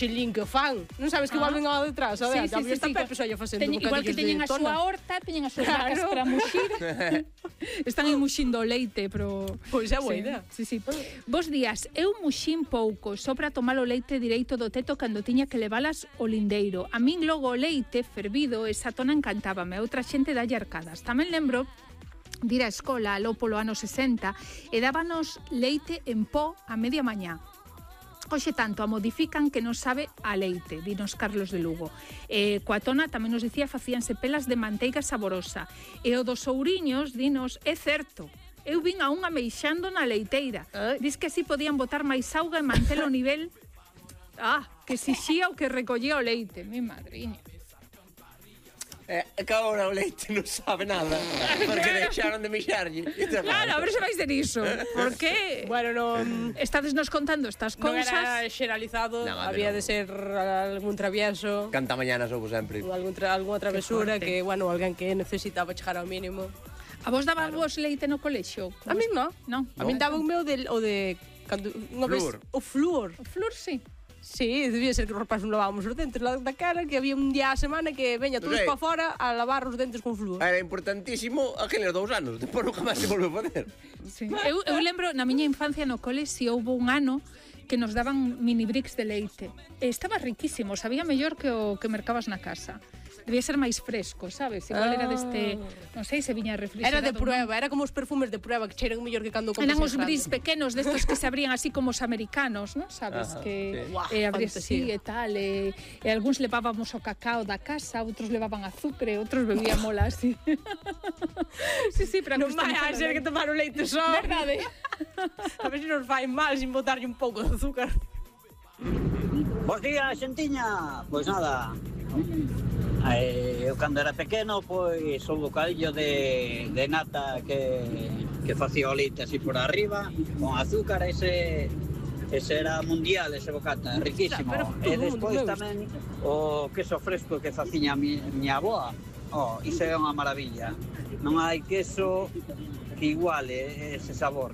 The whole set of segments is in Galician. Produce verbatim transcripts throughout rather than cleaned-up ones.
xilín que o fan. Non sabes que igual ven ao detrás, a ver, Sí, sí, sí, está sí, Pepe só lle facendo Teñen- igual que bocadillos teñen de a súa tona. horta, teñen as súas vacas para muxir. Están aí muxindo o leite, pero... Pois é boa Sí, idea. Sí, sí. Bos días, eu muxín pouco, só para tomar o leite direito do teto cando tiña que levalas ao lindeiro. A min logo o leite fervido, esa tona encantábame, a outra xente dalle arcadas. Tamén lembro de ir á escola aló polo ano sesenta e dábanos leite en pó a media mañá. Hoxe tanto a modifican que non sabe a leite, dinos Carlos de Lugo. Eh, coa tona tamén nos dicía facíanse pelas de manteiga saborosa. E o dos ouriños, dinos, é certo. Eu vin a unha meixando na leiteira. Ai. Dis que así podían botar máis auga e mantelo o nivel... Ah, que xixía o que recollía o leite. Mi madriña. Eh, que agora o leite non sabe nada, porque deixaron de mixarlle. Claro, a ver se vais de iso. Por que? Bueno, non... Estades nos contando estas Non cousas. era xeralizado, Non, a ver, había non. de ser algún travieso, Canta mañana soubo sempre. ou algún tra algunha travesura forte. que, bueno, alguén que necesitaba chegar ao mínimo. A vos daba vos leite no colexio? A min non. Non. A min daba o meu de, o de cando, unha vez, Flúor. o flúor. O flúor, sí. Sí, debía ser que os rapazes non lavábamos os dentes la- da cara, que había un día a semana que veña todos Ok. para fora a lavar os dentes con flúor. Era importantísimo aqueles dous anos, depois nunca máis se volveu a facer. Sí. Eu, eu lembro, na miña infancia no cole, si houve un ano que nos daban mini bricks de leite. E estaba riquísimo, sabía mellor que o que mercabas na casa. Debía ser máis fresco, sabes? Igual era deste, non sei se viña refrigerado. Era de non. prueba, era como os perfumes de prueba que cheiran mellor que cando compras Eran en os grande. bris pequenos destos que se abrían así como os americanos, non? Sabes? Ajá, que sí. Guau, eh, abrías así fantasía. e tal. E, e algúns levábamos o cacao da casa, outros levaban azúcar, outros bebíamos así. sí, sí, para Non vai a customizar o ser que leite. tomar o leite só. Verdade. A ver se nos fai mal sin botarlle un pouco de azúcar. Bos días, xentiña. Pois nada, eh, eu cando era pequeno, pois o bocadillo de, de nata que, que facía o leite así por arriba, con azúcar, ese, ese era mundial, ese bocata, riquísimo. Pero todo E mundo despois me gusta. tamén o queso fresco que facía a mi, miña aboa, oh, iso é unha maravilla. Non hai queso que iguale ese sabor,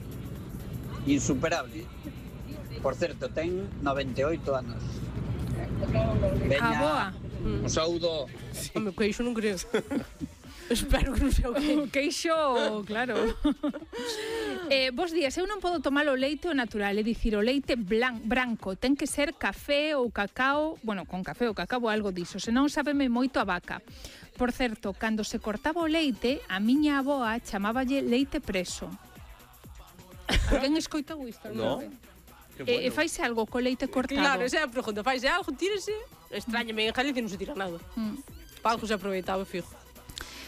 insuperable. Por certo, ten noventa e oito anos. A boa. Un saúdo. Home, que iso non creo. Espero que non sea o que. O queixo, claro. eh, bos días, eu non podo tomar o leite o natural, é dicir, o leite blan, branco. Ten que ser café ou cacao, bueno, con café ou cacao ou algo diso, senón sábeme moito a vaca. Por certo, cando se cortaba o leite, a miña aboa chamáballe leite preso. Alguén escoitou isto? No. E, e faise algo co leite cortado? Claro, esa é a pregunta. Faise algo, tírese. Extrañame, en Galicia non se tira nada. Mm. Pa algo se aproveitaba, fijo.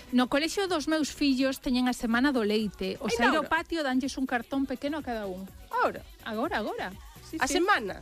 No colexio dos meus fillos teñen a semana do leite. O Ai, sair ao Laura. patio danlles un cartón pequeno a cada un. Ahora, Agora, agora. Sí, a sí. semana.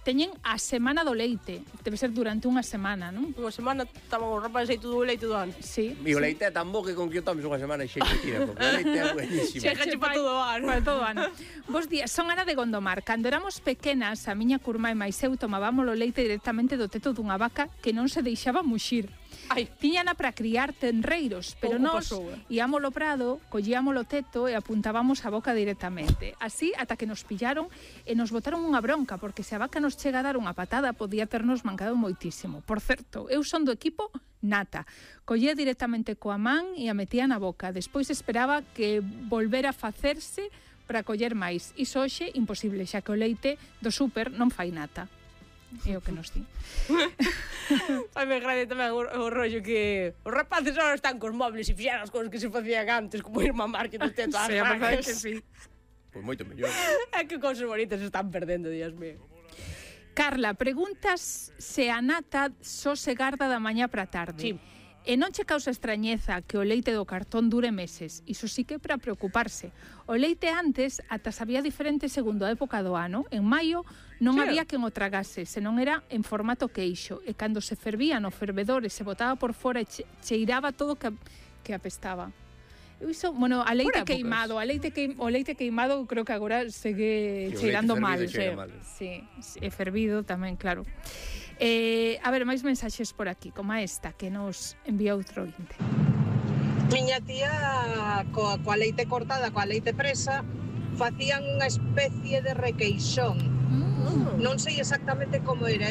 Teñen a semana do leite. Debe ser durante unha semana, non? Unha semana estaban os rapazes aí todo o leite do ano. Sí. E o leite é tan bo que con que o tomes unha semana xe que tira, porque o leite é buenísimo. Chega che para todo o ano. Para todo o ano. Bos días, son Ana de Gondomar. Cando éramos pequenas, a miña curmá e máis eu tomábamos o leite directamente do teto dunha vaca que non se deixaba muxir. Ai, Tiñana para criar tenreiros, pero Pouco nós pasou, eh. íamos ao prado, collíamos o teto e apuntábamos a boca directamente. Así, ata que nos pillaron e nos botaron unha bronca, porque se a vaca nos chega a dar unha patada, podía ternos mancado moitísimo. Por certo, eu son do equipo nata. Collía directamente coa man e a metía na boca. Despois esperaba que volvera a facerse para coller máis. Iso hoxe imposible, xa que o leite do súper non fai nata. É o que nos di. ai me grande tamén o, o rollo que os rapaces ahora están cos móviles e fixeran as cousas que se facían antes, como ir mamar que no teto ás Sí, a verdade vacas. que sí. Pois moito mellor. É que cousas bonitas se están perdendo, Dios mío. Carla, preguntas se a nata só se garda da mañá para a tarde. Sí. E non che causa extrañeza que o leite do cartón dure meses. Iso sí que é para preocuparse. O leite antes ata sabía diferente segundo a época do ano. En maio non Sí. había quen o tragase, senón era en formato queixo. E cando se fervía no fervedor e se botaba por fora e che, cheiraba todo que, que apestaba. Eu iso, bueno, a leite Por épocas. queimado, a leite que, o leite queimado creo que agora segue Sí, o cheirando leite mal. fervido cheira sí. mal. Sí, e fervido tamén, claro. Eh, a ver, máis mensaxes por aquí, como esta que nos envía outro ointe. Miña tía coa, coa leite cortada, coa leite presa, facían unha especie de requeixón. Mm. Non sei exactamente como era, eu